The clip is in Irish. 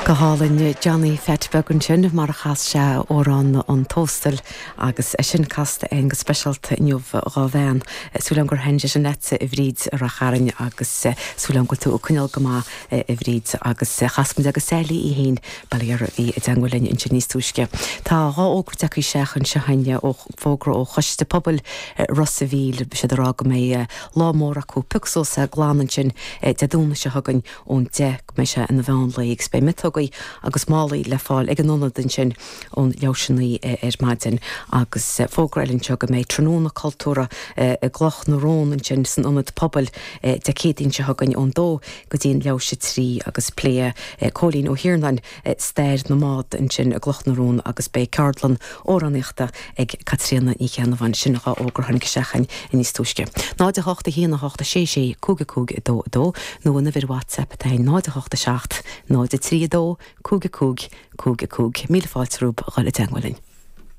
Go hálainn Johnny Pheait Beag ansin mar a chas sé amhrán an Tóstail agus é sin casta againn go speisialta inniu dhá bhean. Súil agam gur thaitin sé sin leatsa a Bhríd i Rath Chairn agus súil agam go bhfuil tú ag coinneáil go maith a Bhríd agus chas muid agus Sally í fhéin bail ó Dhia uirthi a bhí i dteangmháil linn ansin níos túisce. Tá dhá fhógra tagtha isteach anseo againn ó fógra ó Choiste Pobail Ros a' Mhíl, siad ag rá go mbeidh lá mór acu, pioc suas é glan ansin Dé Domhnaigh seo chugainn ón 10 go mbeidh sé ina mheán lae agus beidh miotógaí agus málaí le fáil ag an ionad ansin ón leathuair tar éis 9 ar maidin. Agus fógra eile anseo go mbeidh tráthnóna cultúrtha i gCloch na Rón ansin san ionad pobail Dé Céadaoin seo chugainn ón dó go dtí an leathuair tar éis 3 agus pléifidh Cóilín Ó hIarnáin stair na mbád ansin i gCloch na Rón agus beidh ceardlann amhránaíochta ag Caitríona Ní Cheannabháin. Sin dhá fhógra a tháinig isteach chugainn níos túisce. 0 8 1 8 6 6 5 5 2 2 nó an uimhir WhatsApp atá ag 0 8 7 0 3 2 5 5 5 5. Míle fáilte romhaibh a dhul i dteangmháil linn.